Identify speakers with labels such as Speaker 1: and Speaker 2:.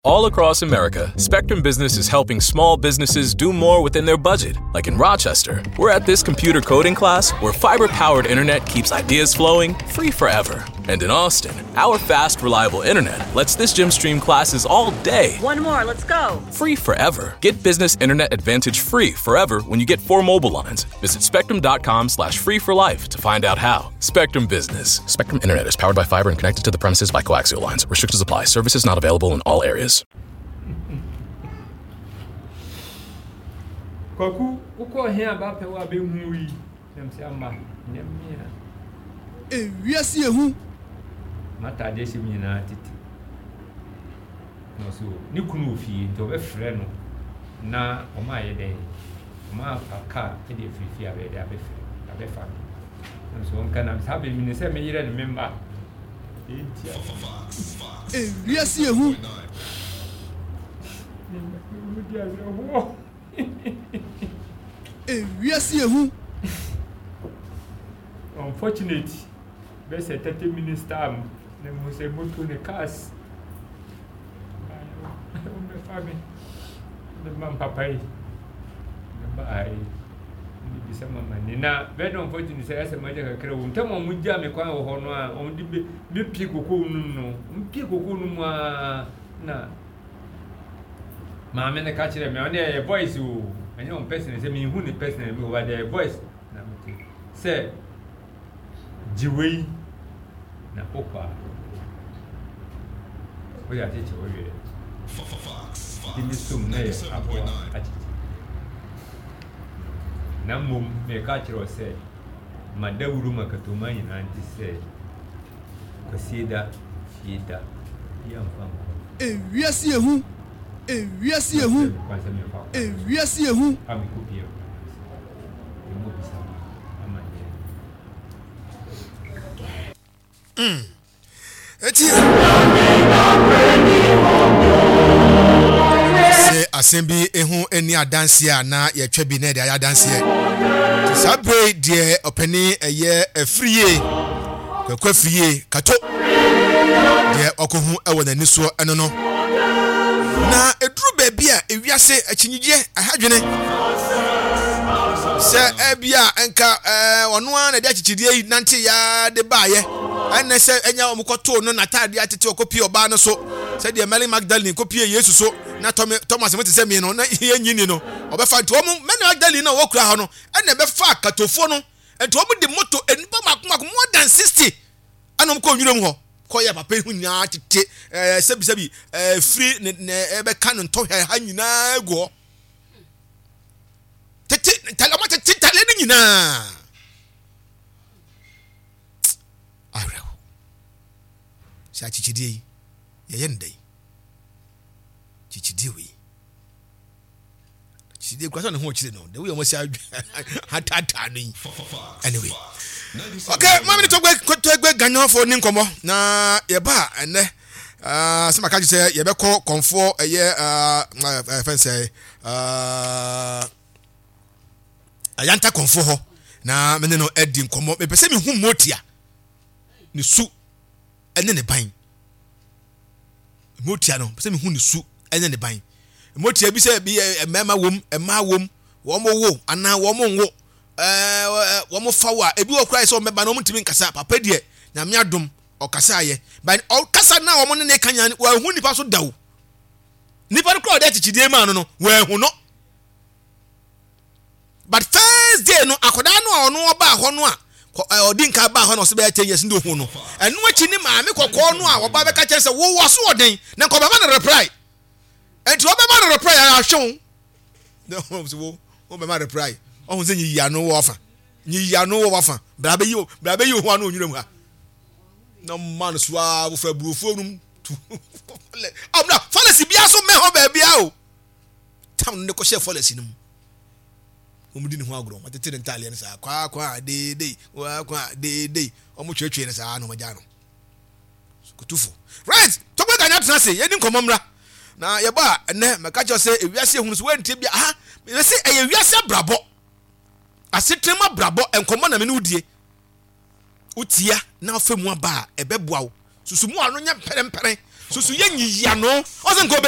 Speaker 1: All across America, Spectrum Business is helping small businesses do more within their budget. Like in Rochester, we're at this computer coding class where fiber powered internet keeps ideas flowing free forever. And in Austin, our fast, reliable internet lets this gym stream classes all day.
Speaker 2: One more, let's go.
Speaker 1: Free forever. Get business internet advantage free forever when you get four mobile lines. Visit spectrum.com slash free for life to find out how. Spectrum Business. Spectrum Internet is powered by fiber and connected to the premises by coaxial lines. Restrictions apply. Services not available in all areas.
Speaker 3: Kwaku, wokɔɔ he a bɛapɛ wo a bɛnhu wo yi? Na mesɛ ama, nyɛ me a.
Speaker 4: Ewiase yɛ hu.
Speaker 3: M'ataadeɛ hyɛ mu nyinaa tete. Na ɔse o, ne kunu wɔ fie nti ɔbɛfrɛ no na ɔma ayɛ dɛn? Ɔma afa kaa de afiri fie abɛyɛ dɛn abɛfrɛ abɛfa no. Na mesɛ ɔnka na saa bɛ mene sɛ me yerɛ ne me mma. Ɛnti a.
Speaker 4: Ewiase yɛ hu.
Speaker 3: Medi awerɛhoɔ.
Speaker 4: Ewiase yɛ hu.
Speaker 3: Unfortunate bɛyɛ sɛ 30 minutes time na mehu sɛ moto ne cars wɔbɛfa me ne ma papa yi ne baa yi ne bisa mama ni na very unfortunate sɛ ɛsɛ magya kakra wɔ mu tam a wɔgya me kwan wɔ hɔ no a wɔde bɛ mepie koko no mu no mpie koko no mu a na maame no ka kyerɛ me ɔne ɛyɛ voice o ɛnyɛ wɔn person sɛ mehu ne person mi wɔ ba ɛyɛ voice na mete sɛ gye wei na wokɔ a wode akyekye wo werɛ nti me som na yɛ aboa akyekye na mmom meka kyerɛ wo sɛ ma dawuro ma katoma nyinaa nte sɛ Kwasieda fie da bi amfa nkɔ.
Speaker 4: Ewiase yɛ hu, ewiase yɛ hu, ewiase yɛ hu.
Speaker 3: A mekɔ pie akura no ase. Yɛmmɔ bisa ma amanneɛ.
Speaker 5: Mm. Eti sɛ asɛm bi ho ani adanseɛ a na yɛtwa bi na yɛde ayɛ adanseɛ. Saa bere deɛ ɔpanin ɛyɛ afiri yie, Kwaku afiri yie, kato deɛ ɔkɔhu wɔ n'ani soɔ ɛno no. Na ɛduru baabi a ewiase akyinnyegyeɛ ɛha dwene sɛ ebia nka ɔno ara na ɛde akyekyedeɛ yi nante ya de baayɛ ɛnɛ sɛ ɛnya wɔn kɔtoo no n'ataadeɛ atete ɔkɔpie ɔbaa no so sɛdeɛ Mary Magdalene kɔpie Yesu so na Thomas mo te sɛ mie no na yɛnyi ni no ɔbɛfa nti wɔn Mary Magdalene na wɔkura hɔ no ɛna ɛbɛfa katofoɔ no nti wɔn de moto nnipa mako mako more than 60 ɛna wɔn kɔ nwura mu hɔ kɔyɛ papa yi ho nyinaa tete ɛɛ sɛbisɛbi ɛɛ firi ne ne ɛbɛka ne ntɔhwɛ ha nyinaa gu hɔ tete ntale wɔn tete ntale no nyinaa awerɛho sɛ akyekyedeɛ yi yɛyɛ no dɛn kyekyedeɛ wei kyekyedeɛ kura sɛ ne ho ɔkyerɛ no de woyɛ wɔn asi ataataa no yi anyway okay maame ne tɔgbɛ tɔgbɛ ganyɔfoɔ ne nkɔmmɔ na yɛba a ɛnɛ ah, sɛ maka kyerɛ sɛ yɛbɛkɔ kɔnfoɔ ɛyɛ ah, eh, fɛn sɛ ah, ayanta kɔnfoɔ hɔ na mene no adi nkɔmmɔ mepɛ sɛ mehu motia ne su ne ne ban Motia no, pɛ sɛ mehu ne su ne ne ban. Motia bi sɛ bi mmarima wom, mmaa wom, wɔn wo anaa wɔn nwo, ɛɛ wɔn fa wo a, ebi wɔ koraa sɛ wɔn bɛba na wɔn ntumi nkasa. Papa deɛ, nyame adom, ɔkasa ayɛ. But ɔkasa na wɔn ne ne ka nyinaa, wɔahu nipa so da o. Nipa no koraa ɔde akyekyedeɛ maa no no, wɔahu no. But first day no akwadaa no a ɔno ɔbaa hɔ no a ɔdi nka baa hɔ na ɔsɛ bɛyɛ ten years ne ohun no ɛno akyi ne maame kɔkɔɔ no a ɔba bɛka kyɛn sɛ wo wɔ so ɔden na nka ɔbɛma no reply nti ɔbɛma no reply ayɛ ahwɛ wo na ɔsɛ wo ɔbɛma reply ɔho sɛ nyiyi ano wɔ afa nyiyi ano wɔ wafa bra bɛyi bra bɛyi ho ano onwura mu ha na mma no so a wofra burofuo nom tu ɔmna falasi bia so mɛ hɔ baabia o tam no de kɔhyɛɛ fɔlɛsi no mu. Wɔn di ne ho agorɔ, wɔtete ne ntaaleɛ no saa, kwaa deedei, kwaa deedei, wɔn twetwe no saa na wɔn agya no. Kutufo. Right, tɔgbɛ ganya tena ase, yɛdi nkɔmɔ mmra. Na yɛba a, ɛnɛ mɛka kyerɛ sɛ ewiase ehunu so wɔntie bi aha, mɛsi ɛyɛ wiase abrabɔ. Asetena mu abrabɔ nkɔmɔ na me ne wodie. Wotia na afɛ mu aba a ɛbɛboa wo. Susu mu ano nyɛ mpɛrɛmpɛrɛ. Susu yɛ nyiyi ano. Ɔsɛ nka ɔbɛyi.